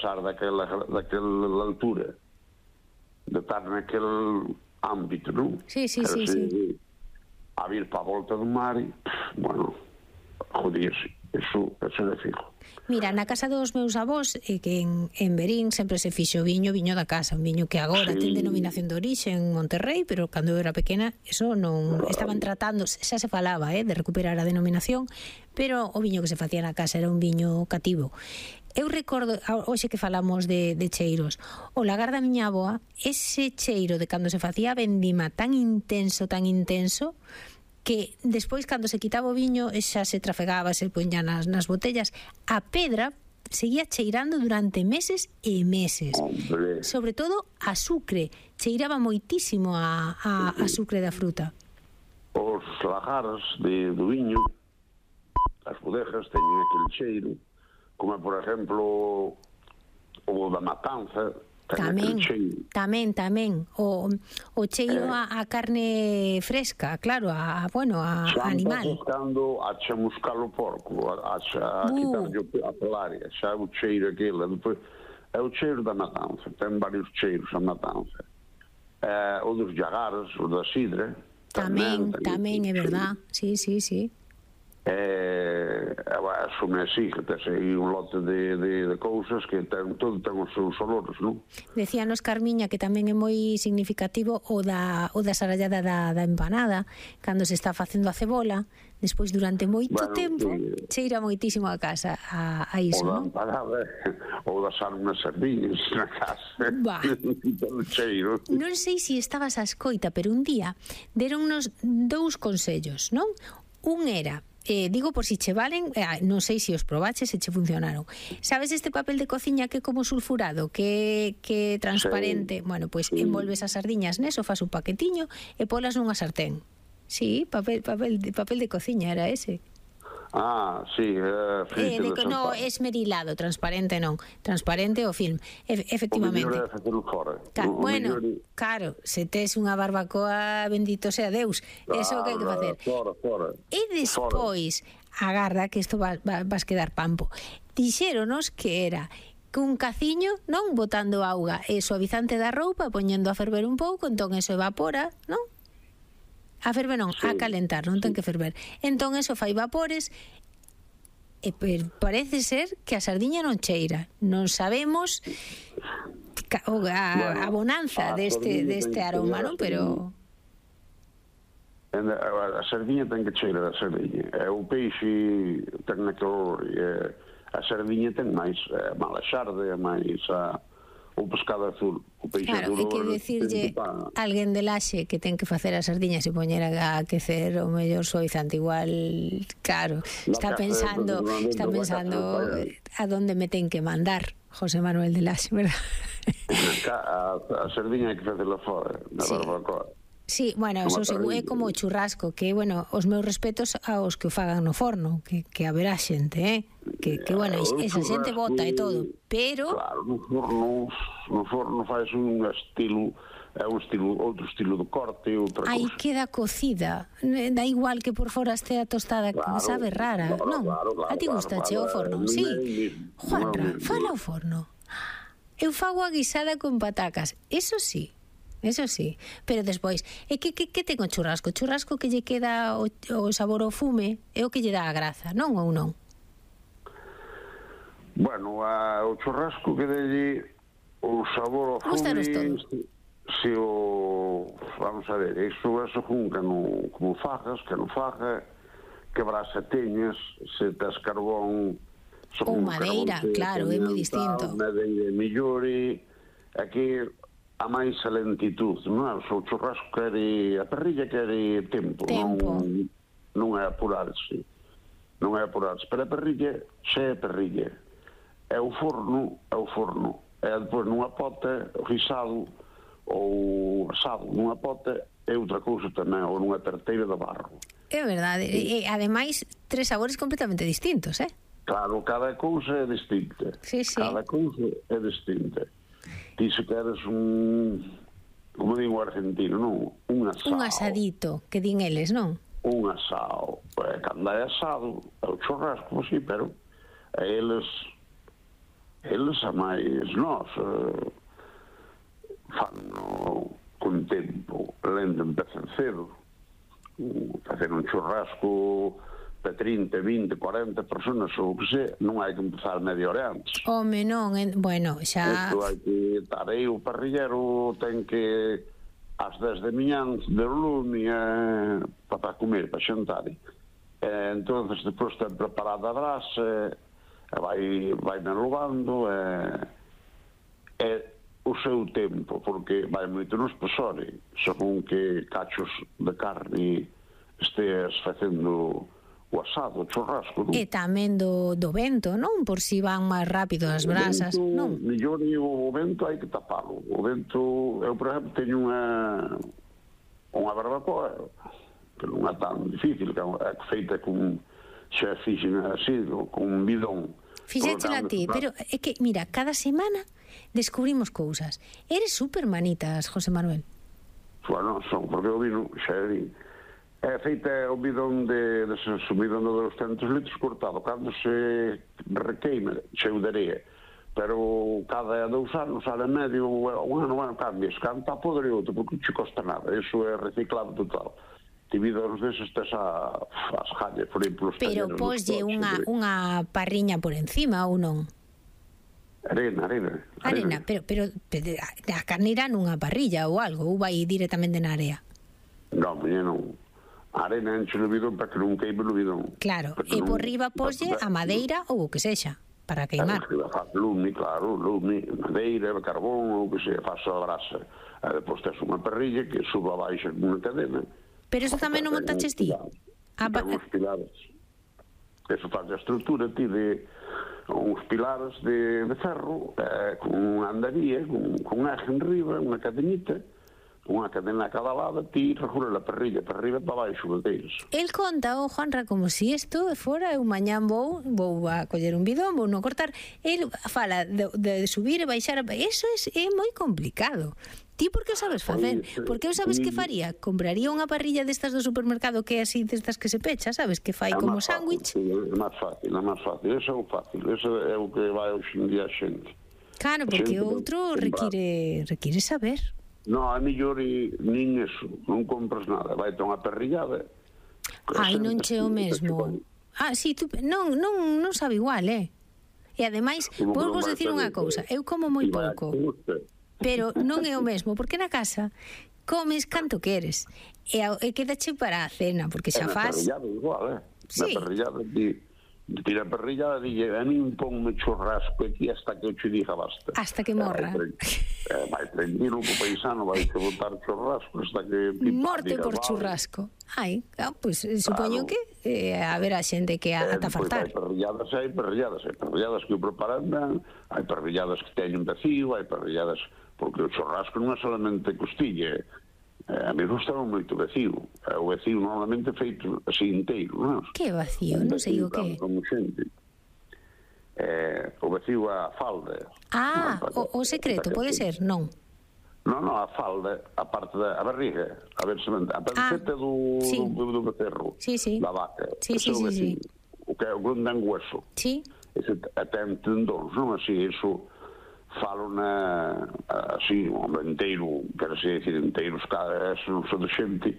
pasar daquela altura, de estar naquele ámbito, non? Sí. A vir para a volta do mar e, bueno, jodíase. Eso é fijo. Mira, na casa dos meus avós, que en Verín sempre se fixo viño da casa, un viño que agora ten denominación de orixe en Monterrey, pero cando eu era pequena eso non estaban tratando, xa se falaba de recuperar a denominación, pero o viño que se facía na casa era un viño cativo. Eu recordo, hoxe que falamos de cheiros, o lagar da miña avoa, ese cheiro de cando se facía vendima tan intenso, que despois cando se quitaba o viño xa se trafegaba, se poñía nas botellas, a pedra seguía cheirando durante meses e meses. Hombre. Sobre todo a sucre, cheiraba moitísimo a sucre da fruta. Os lagares do viño, as bodegas teñen aquele cheiro, como por exemplo o da Matanza. Tamén. O cheiro a carne fresca, claro, a animal. Cando a chamuscar o porco, a quitarlle a pelaria, xa o cheiro aquele, depois é o cheiro da Matanza, ten varios cheiros a Matanza. O dos llagares, o da sidra. Tamén, é verdad, sí. Asume así, que tes aí un lote de cousas que todo ten os seus olores, non? Decíanos Carmiña que tamén é moi significativo o da sarallada da empanada, cando se está facendo a cebola, despois durante moito tempo cheira moitísimo a casa a iso, non? O da empanada, ou das unhas sardiñas na casa. Cheiro. Non sei se estabas a escoita, pero un día deronnos 2 consellos, non? Un era, digo por si che valen, non sei se os probaches e che funcionaron. Sabes este papel de cociña que é como sulfurado, que é transparente? Bueno, pois envolves as sardiñas neso, fas un paquetiño e polas nunha sartén. Sí, papel de cociña era ese. Sí, no, esmerilado, transparente non. Transparente o film, efectivamente. O mellor é facelo fora. Bueno, claro, se tes unha barbacoa, bendito sea Deus, eso que hai que facer. Fora. E despois, agarda que isto vas quedar pampo. Dixéronos que era cun caciño, non, botando auga e suavizante da roupa, poñendo a ferver un pouco, entón eso evapora, non? A ferver non, a calentar, non ten que ferver. Entón eso fai vapores e parece ser que a sardiña non cheira. Non sabemos a bonanza deste aroma, non? Pero a sardiña ten que cheirar a sardiña. O peixe ten aquele olor, a sardiña ten máis mala xarde, máis o pescado azul, o peixe azul. Claro, hai que decirlle alguén de Laxe que ten que facer as sardiñas e poñer a aquecer o mellor suavizante, igual, claro, está pensando a donde me ten que mandar José Manuel de Laxe, verdad? A sardiña hai que facela fora, na barbacoa. Sí, bueno, eso é como o churrasco, que, bueno, os meus respetos aos que o fagan no forno, que haberá xente, que bueno, esa xente bota e todo, pero... Claro, no forno faz un estilo, outro estilo de corte, outra cousa. Aí queda cocida, da igual que por fora estea tostada, sabe rara, non? A ti gustache o forno? Sí. Juanra, fala o forno. Eu fago a guisada con patacas, eso sí, pero despois, que ten o churrasco? O churrasco que lle queda o sabor ao fume é o que lle dá a graza, non ou non? Bueno, o churrasco que delle o sabor ao fume, se vamos a ver, iso como fajas, que non faja, que brasa teñas, se tes carbón ou madeira, claro, é moi distinto. Madeira mellore, aquí a máis a lentitud, non é? O churrasco a parrilla quere tempo. Non é apurarse, pero a parrilla xa é parrilla, é o forno, é depois nunha pota, guisado ou asado nunha pota, é outra cousa tamén, ou nunha tarteira de barro. É verdade, e ademais 3 sabores completamente distintos, Claro, cada cousa é distinta. Sí. Cada cousa é distinta. Ti se queres como digo o argentino, non? Un asado. Un asadito, que din eles, non? Un asado. Cando é asado, é o churrasco, sí, pero a eles eles a máis nós fanno con tempo, lendo empezan cedo, facer un churrasco de 30, 20, 40 personas ou que sei, non hai que empezar media hora antes. Home, non, bueno, xa... Isto hai que estar aí, o parrillero ten que ás 10 de miñán de lume para comer, para xantar. Entonces, depois ten preparada a brasa, vai enlogando, o seu tempo, porque vai moito no espesore, según que cachos de carne esteas facendo o asado, o churrasco, non? E tamén do vento, non? Por si van máis rápido as brasas, non? Mellor o vento hai que tapalo. O vento, eu, por exemplo, teño unha barbacoa, que non é tan difícil, que é feita con xa fixen así, con un bidón. Fixéchela a ti, pero é que, mira, cada semana descubrimos cousas. Eres supermanitas, José Manuel. Bueno, son, porque o vino xa é feita o bidón de o bidón de 200 litros cortado. Cando se requeima, cheo de areia. Pero cada 2 anos, sale medio, un ano, cambias. Cando está podre outro, porque non che costa nada. Iso é reciclado total. Ti bidóns deses tes as jallas, por exemplo, os pero poslle unha parriña por encima ou non? Arena, pero a carne irá nunha parrilla ou algo, ou vai directamente na area? Non, non. A arena enche no bidón para que non queime no bidón. Claro, e por riba poslle a madeira ou o que sexa, para queimar. Lume, claro, madeira, carbón, ou que sexa, faz a brasa. Depois tes unha parrilla que suba abaixo nunha cadena. Pero eso tamén non montaches ti? Ten uns pilares. Eso faz a estrutura ti de uns pilares de ferro, con unha andaría, con un eje en riba, unha cadenita, unha cadena a cada lado, ti regula a parrilla para arriba e para baixo deles. El conta, Juanra, como si isto fora eu mañán vou a coller un bidón, vou non cortar. El fala de subir e baixar. Eso é moi complicado. Ti por que o sabes facer? Porque eu sabes que faría? Compraría unha parrilla destas do supermercado que é así, destas que se pecha, sabes? Que fai como sándwich. É máis fácil. Eso é o fácil. Eso é o que vai hoxe en día a xente. Claro, porque o outro require saber. Non, é mellor nin eso, non compras nada, vai ter unha parrillada. Ai, non che o mesmo. Sí, tú non sabe igual, E ademais, vos decir unha cousa, eu como moi pouco, pero non é o mesmo, porque na casa comes canto queres, e quedache para a cena, porque xa faz... Na parrillada igual, Sí. Na parrillada tira a parrillada e dille, a min ponme churrasco aquí hasta que eu che diga basta. Hasta que morra. Vai tranquilo co paisano, vai que botar churrasco hasta que... Morte por churrasco. Ai, pois supoño que haberá xente que ata fartar. Hai parrilladas que o preparan ben, hai parrilladas que teñen vacío, hai parrilladas... Porque o churrasco non é solamente costilla, a mí gustaba moito vacío. O vacío normalmente feito así inteiro, non? Que vacío? Non sei o que. Como xente. O vacío a falda. O secreto, pode ser? Non. Non, a falda, a parte da barriga, a ver se a panceta do becerro, da vaca. Sí. O que é o grande hueso. Sí. Ese ten tendóns, non? Así, eso... falo así, inteiro, quero decir enteiros, eso non son de xente,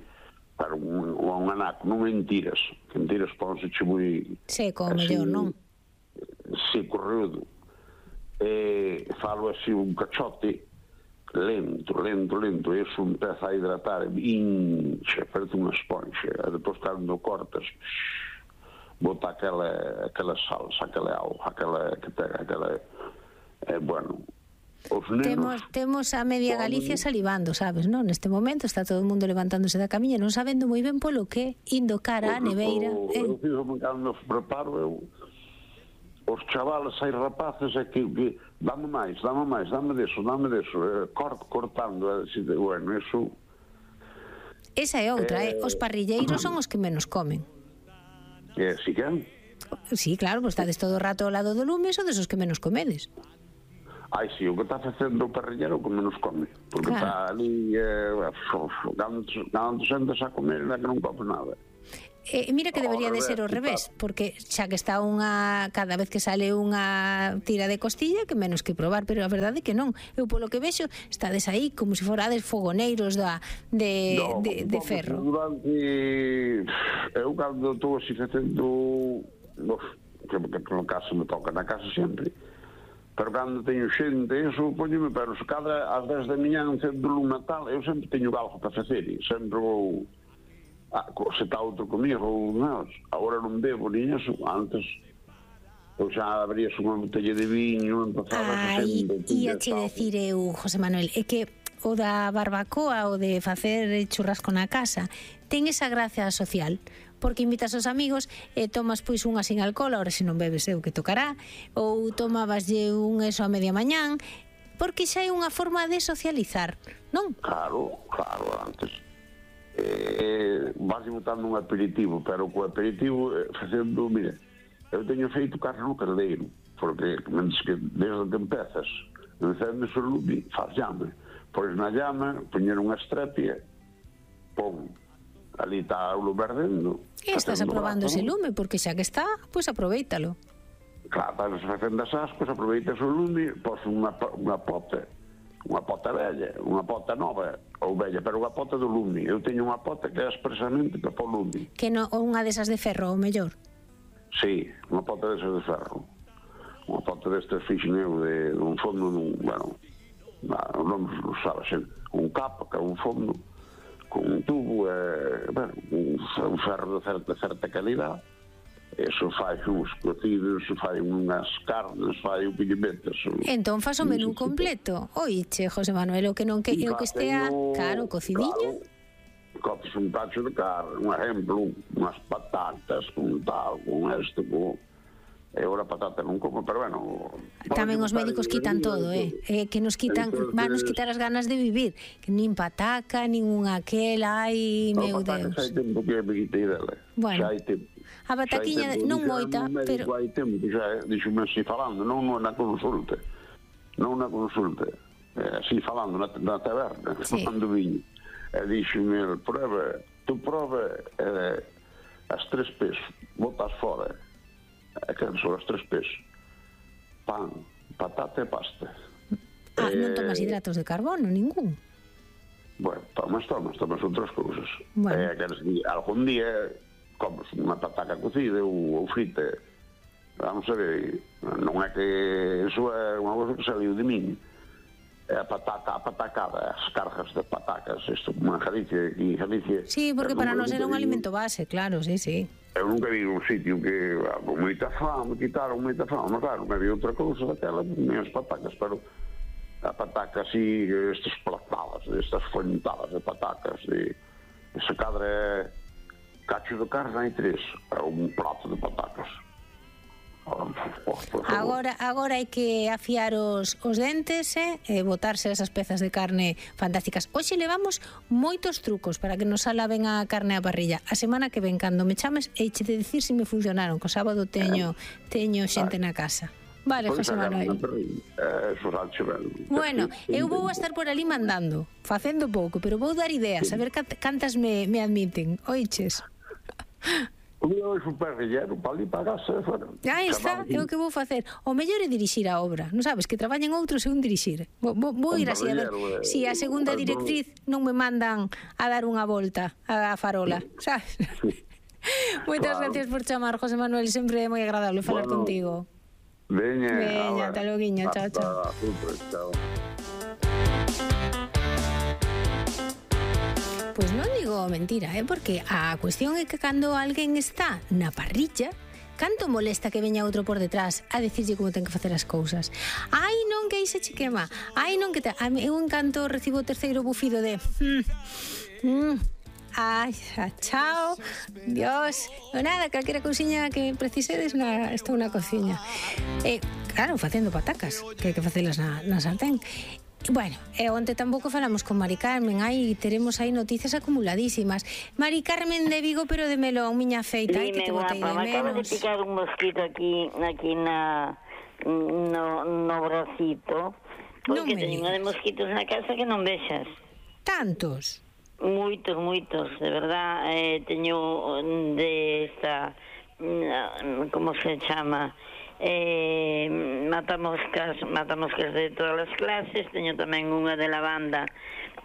para un anaco, non mentiras, que mentiras ponse che moi... Seco, mellor, non? Seco, rudo. Falo así un cachote, lento, e eso empeza a hidratar, incha, parece unha esponxa, e depois cando cortas, bota aquela salsa, aquela auga, aquela bueno, os nenos... Temos a media Galicia salivando, sabes, non? Neste momento está todo o mundo levantándose da camiña, non sabendo moi ben polo que, indo cara a neveira. Eu cando preparo, os chavales, hai rapaces, que dame máis, dame deso, cortando, bueno, eso... Esa é outra, os parrilleiros son os que menos comen. Si que? Sí, claro, pois estades todo o rato ao lado do lume, son desos que menos comedes. Ai, sí, o que está facendo o parrillero que menos come, porque está ali cando sentas a comer é que non come nada. Mira que debería de ser ao revés, porque xa que está cada vez que sale unha tira de costilla, que menos que probar, pero a verdade é que non. Eu polo que vexo, estades aí como se forades fogoneiros de ferro. Eu cando estou así facendo, que no caso me toca na casa sempre, pero cando teño xente, eso poñome, pero se cada ás 10 da mañá encendo lume tal, eu sempre teño algo para facer, e sempre vou... se está outro comigo, agora non bebo ni eso, antes pois xa abrías unha botella de viño, empezabas a sempre. Ia che decir eu, José Manuel, é que o da barbacoa, o de facer churrasco na casa, ten esa gracia social, porque invitas aos amigos e tomas pois unha sin alcohol, ahora se non bebes eu que tocará, ou tomabaslle un eso a media mañán, porque xa é unha forma de socializar, non? Claro, antes vas botando un aperitivo, pero co aperitivo facendo, mire, eu teño feito carne no caldeiro, porque desde que empezas encendes o lume, faz llame, pois na llama poñer unha estrepia, pon, ali está o lume ardendo. E estás aprobando ese lume, porque xa que está, pois aproveítalo. Claro, estás facendo as ascos, aproveitas o lume, pos unha pota velha, unha pota nova ou velha, pero unha pota do lume. Eu teño unha pota que é expresamente para o lume. Que non, unha desas de ferro, ou mellor? Sí, unha pota desas de ferro. Unha pota destas fixen eu de un fondo, bueno, non sabe ser, un capa, que é un fondo, con un tubo, bueno, un ferro de certa calidad. Eso fai uns cocidos, fai unhas carnes, fai un pimientos. Entón faz o menú completo. Oiche, José Manuel, o que non que estea, claro, cocidinha. Coces un tacho de carne, un exemplo, unhas patatas, con tal, con esto, con... E ora patata non como, pero bueno... Tamén os médicos quitan todo, que nos quitan, van nos quitar as ganas de vivir. Que nin pataca, nin unha aquela, ai, meu Deus. Xa hai tempo que me quitei dela. Bueno. Xa hai tempo. A bataquiña non moita, pero... Hai tempo que xa, dixome así falando, non na consulta, así falando na taberna, tomando viño. E dixome, tu prova as 3 P's, botas fora, que son as 3 P's, pan, patata e pasta. Non tomas hidratos de carbono, ningún? Bueno, tomas outras cousas. Bueno. Algún día comes unha pataca cocida ou frita. Vamos a ver, non é que eso é unha cosa que saliu de min. É a patacada, as cargas de patacas, isto como en Galicia, aquí en Galicia. Sí, porque para nós era un alimento base, claro, sí. Eu nunca vi un sitio que con moita fame, quitaron moita fame, claro, non había outra cousa daquela, nem as patacas, pero a pataca así, estas platadas, estas fontadas de patacas, ese cadre cacho de carne hai 3, é un prato de patacas. Agora hai que afiar os dentes e botarse esas pezas de carne fantásticas. Hoxe levamos moitos trucos para que nos sala ben a carne á parrilla. A semana que ven, cando me chames, eiche de dicir se me funcionaron, que o sábado teño xente na casa. Vale, José Manuel. Bueno, eu vou a estar por ali mandando, facendo pouco, pero vou dar ideas, a ver cantas me admiten. Oiches? O meu é super relleno, para ali para a casa. Aí está, é o que vou facer. O mellor é dirixir a obra, non sabes, que traballen outros e un dirixir. Vou ir así a ver si a segunda directriz non me mandan a dar unha volta a farola, sabes? Moitas gracias por chamar, José Manuel, sempre é moi agradable falar contigo. Veña, ata loguinho, chao. Pois non digo mentira, porque a cuestión é que cando alguén está na parrilla, canto molesta que veña outro por detrás a decirlle como ten que facer as cousas. Ai, non, que aí se che quema. Ai, non, que eu encanto recibo o terceiro bufido de... Ai, chao, Dios. Non nada, calquera cousiña que precisedes, estou na cociña. Claro, facendo patacas, que hai que facelas na sartén. Bueno, onte tampouco falamos con Mari Carmen. Teremos aí noticias acumuladísimas. Mari Carmen de Vigo, pero de Melón, miña feita. Ai, que te botei de menos. Me acaba de picar un mosquito aquí no bracito. Porque teño de mosquitos na casa que non vexas. Tantos? Moitos, de verdad. Teño de esta, como se chama, matamoscas de todas as clases. Teño tamén unha de lavanda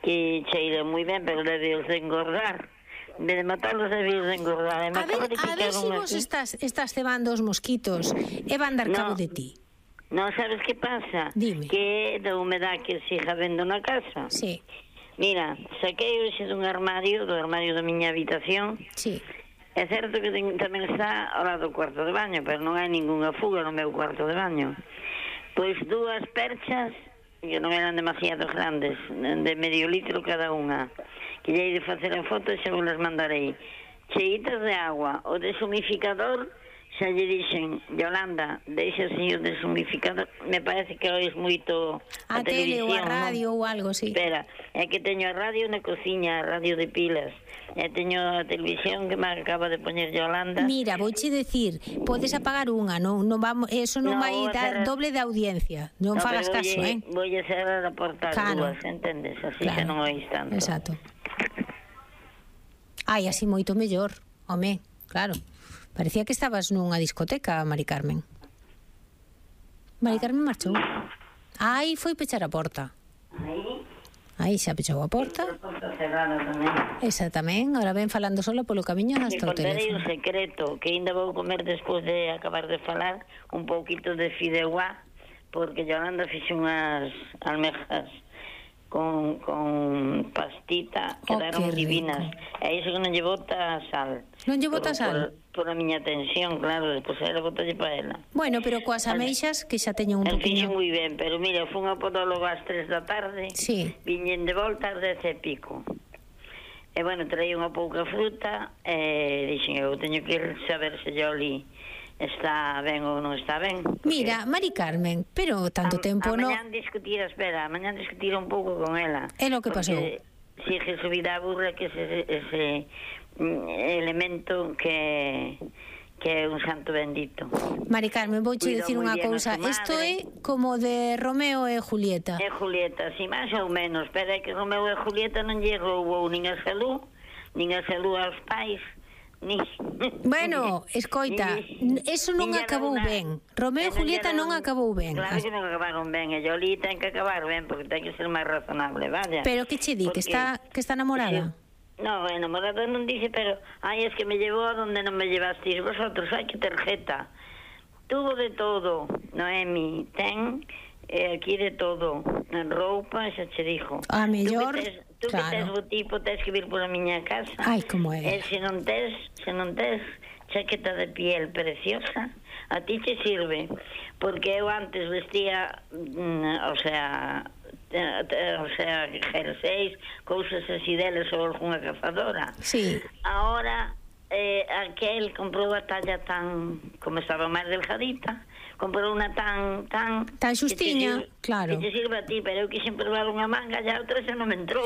que cheira moi ben, pero debe de engordar. En vez de matarlos, debe de engordar. A ver se vos estás cebando os mosquitos e van dar cabo de ti. Non, sabes que pasa? Dime. Que da humedad que siga vendo na casa. Sí. Mira, saquei hoxe do armario da miña habitación. Sí. É certo que tamén está ao lado do cuarto de baño, pero non hai ningunha fuga no meu cuarto de baño. Pois 2 perchas, que non eran demasiado grandes, de medio litro cada unha, que lle hei de facer en foto e xa vos las mandarei. Cheitas de agua, o deshumificador. Xa lle dixen, Yolanda, deixa o señor deshumificador. Me parece que ois moito a tele ou a radio ou algo, sí. Espera, é que teño a radio na cociña, a radio de pilas. E teño a televisión que me acaba de poñer Yolanda. Mira, vouche decir, podes apagar unha, non vamos, eso non vai dar doble de audiencia. Non fagas caso, Vou a cerrar a porta dúas, entendes? Así xa non oís tanto. Exacto. Ai, así moito mellor, home, claro. Parecía que estabas nunha discoteca, Mari Carmen. Mari Carmen marchou. Ai, foi pechar a porta. Aí xa pechou a porta. A porta cerrada tamén. Esa tamén, ahora ven falando sola polo camiño hasta o teléfono. Contarei un secreto, que ainda vou comer despois de acabar de falar un pouquito de fideuá, porque Yolanda fixe unhas almejas con pastita, quedaron divinas. E iso que non lle bota sal. Non lle bota sal? Por a miña tensión, claro, despois ela botalle para ela. Bueno, pero coas ameixas que xa teñen un poquinho. Fixe moi ben, pero mira, fun a podólogo ás 3 da tarde. Sí. Viñen de volta ás 10 e pico. E bueno, traí unha pouca fruta e dixen, eu teño que ir saber se Yoli está ben ou non está ben. Mira, Mari Carmen, pero tanto tempo non... Mañán discutir un pouco con ela. É lo que pasou. Sigue subida a burra que ese elemento que é un santo bendito. Mari Carmen, vouche dicir unha cousa. Isto é como de Romeo e Julieta. É Julieta, si máis ou menos, pero é que Romeo e Julieta non lle roubou nin a salud aos pais. Bueno, escoita, eso non acabou ben. Romeo e Julieta non acabou ben. Claro que non acabaron ben, e Yoli ten que acabar ben, porque ten que ser máis razonable, vaya. Pero que che di, que está namorada? No, enamorada non dice, pero es que me llevó a donde non me llevasteis vosotros. Ai, que tarjeta. Tuvo de todo, Noemi, ten aquí de todo, en roupa, xa che dixo. A mellor... Tú que tes o tipo, tes que vir por a miña casa. Ai, como é. E se non tes chaqueta de piel preciosa, a ti che sirve. Porque eu antes vestía, jerseis, cousas así deles ou algunha cazadora. Sí. Ahora, aquel comprou a talla tan, como estaba máis delgadita, comprou unha tan xustiña, claro. Que te sirve a ti, pero eu quixen probar unha manga e a outra xa non me entrou.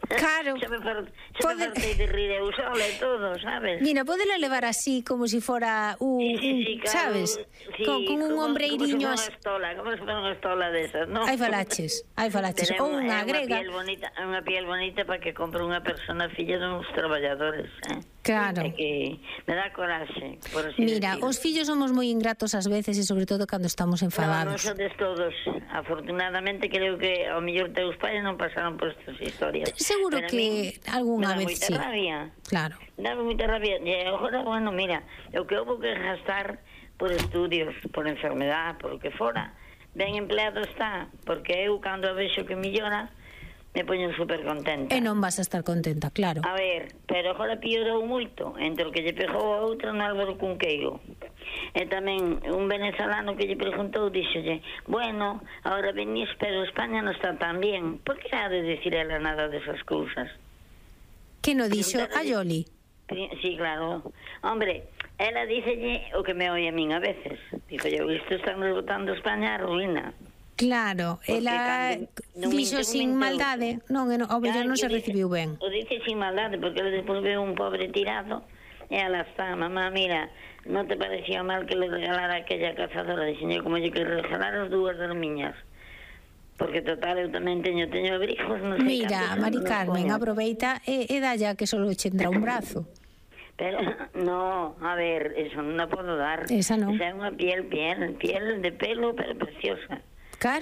Claro. Xa me fartei de rir eu sola e todo, sabes? Mira, podela levar así, como si fora sí, claro, sabes? Sí, con un ombreiriño... Como se fora unha estola desas, non? Hai falaches. Ou unha grega. Unha piel bonita para que compre unha persona filla duns traballadores, Claro. Que me dá coraxe, por así Mira, decirlo. os fillos somos moi ingratos ás veces e sobre todo cando estamos enfadados. Non sodes todos. Afortunadamente creo que ao mellor teus pais non pasaron por estas historias. Seguro que algunha vez sí. Dá moita rabia. Claro. Dá moita rabia. E agora, bueno, mira, o que houve que gastar por estudios, por enfermedad, por o que fora, ben empleado está, porque eu cando a vexo que millora, me poño super contenta. E non vas a estar contenta, claro. A ver, pero agora piorou moito entre o que lle pegou a outra no Álvaro Cunqueiro. E tamén un venezolano que lle preguntou, díxolle, bueno, agora venís, pero España non está tan bien. Por que ha de decir ela nada desas cousas? Que no dixo a Yoli? Sí, claro. Hombre, ela díxelle o que me oi a min a veces. Dijo yo, isto están botando España a ruína. Claro, ela dixo sin maldade, non, ao mellor non se recibiu ben. O dice sin maldade, porque ela despois veo un pobre tirado, e ela está, mamá, mira, non te parecía mal que le regalara aquella cazadora? Dixen, como lle que regalar as dúas das miñas. porque total eu tamén teño abrigos, non sei. Mira, Mari Carmen, aproveita e dalla que solo che entra un brazo. Pero, no, a ver, eso non a podo dar. Esa non. Esa é unha piel de pelo, pero preciosa. Claro,